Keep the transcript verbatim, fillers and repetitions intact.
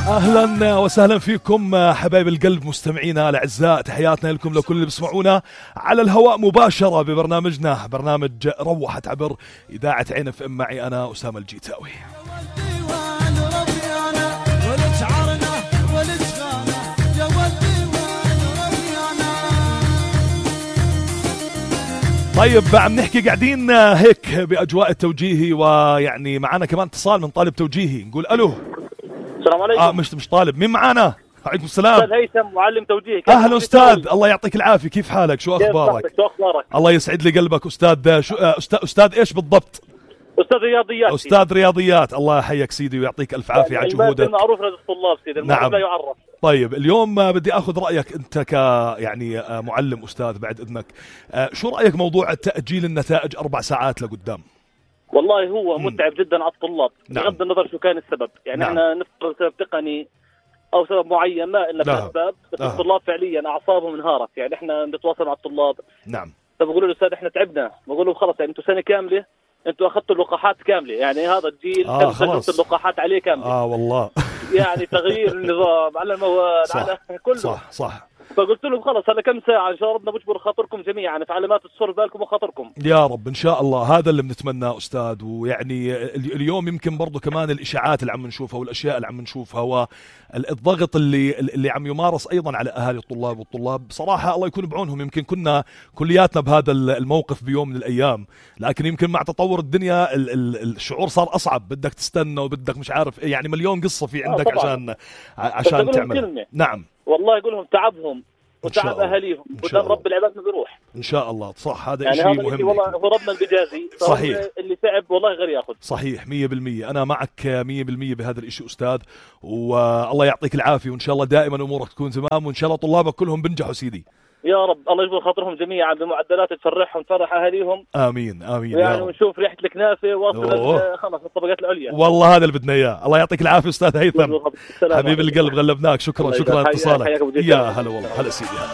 أهلا وسهلا فيكم حبايب القلب مستمعينا الأعزاء، تحياتنا لكم لكل اللي بسمعونا على الهواء مباشرة ببرنامجنا برنامج روحت عبر إذاعة عين اف ام معي أنا أسامة الجيتاوي. طيب عم نحكي قاعدين هيك بأجواء التوجيهي، ويعني معنا كمان اتصال من طالب توجيهي، نقول ألو. السلام عليكم. اه مش مش طالب، مين معانا؟ وعليكم السلام. أستاذ هيثم معلم توجيهي. أهلا أستاذ، الله يعطيك العافية، كيف حالك؟ شو أخبارك؟ شو أخبارك؟ الله يسعد لي قلبك أستاذ. شو أستاذ أستاذ إيش بالضبط؟ أستاذ رياضيات. أستاذ رياضيات، الله يحييك سيدي ويعطيك ألف عافية على جهودك. المعروف لدى الطلاب سيدي، المعروف نعم. لا يعرف. طيب اليوم بدي أخذ رأيك أنت ك يعني معلم أستاذ بعد إذنك، شو رأيك موضوع تأجيل النتائج أربع ساعات لقدام؟ والله هو مم. متعب جدا على الطلاب، نعم. بغض النظر شو كان السبب، يعني نعم. احنا نفترض سبب تقني او سبب معين ما إلا نعم. الاسباب، بس نعم. الطلاب فعليا اعصابهم انهارت. يعني احنا نتواصل مع الطلاب، نعم، فبقولوا له استاذ احنا تعبنا، بقول لهم خلص يعني انتم سنه كامله انتم اخذتوا اللقاحات كامله، يعني هذا الجيل آه تم خلاص. تجربه اللقاحات عليه كامله. اه والله يعني تغيير النظام على المواد صح. على كله. صح صح. فقلت لهم خلص هذا كم ساعة إن شاء ربنا بجبر خاطركم جميعا، في علامات تصر بالكم وخاطركم. يا رب إن شاء الله، هذا اللي بنتمناه أستاذ. ويعني اليوم يمكن برضو كمان الإشاعات اللي عم نشوفها والأشياء اللي عم نشوفها والضغط اللي اللي عم يمارس أيضا على أهالي الطلاب والطلاب، بصراحة الله يكون بعونهم. يمكن كنا كلياتنا بهذا الموقف بيوم من الأيام، لكن يمكن مع تطور الدنيا ال ال الشعور صار أصعب، بدك تستنى وبدك مش عارف إيه، يعني مليون قصة في عندك آه عشان عشان تعمل. كلمة. نعم والله يقول لهم تعبهم وتعب اهاليهم قدام رب العباد ما بيروح ان شاء الله. صح، هذا يعني شيء هذا مهم. والله هو ربنا اللي بيجازي. صحيح. اللي تعب والله غير ياخذ. صحيح مية بالمية، انا معك مية بالمية بهذا الاشي استاذ، والله يعطيك العافية، وان شاء الله دائما امورك تكون تمام، وان شاء الله طلابك كلهم بنجحوا سيدي. يا رب الله يجبر خاطرهم جميعا بمعدلات تفرحهم تفرح اهاليهم. امين امين يعني ونشوف ريحه الكنافه واصل خلص الطبقات العليا. والله هذا اللي بدنا اياه. الله يعطيك العافيه استاذ هيثم، حبيب القلب، غلبناك. شكرا شكرا على اتصالك. يا هلا والله. هلا سيدي هلا.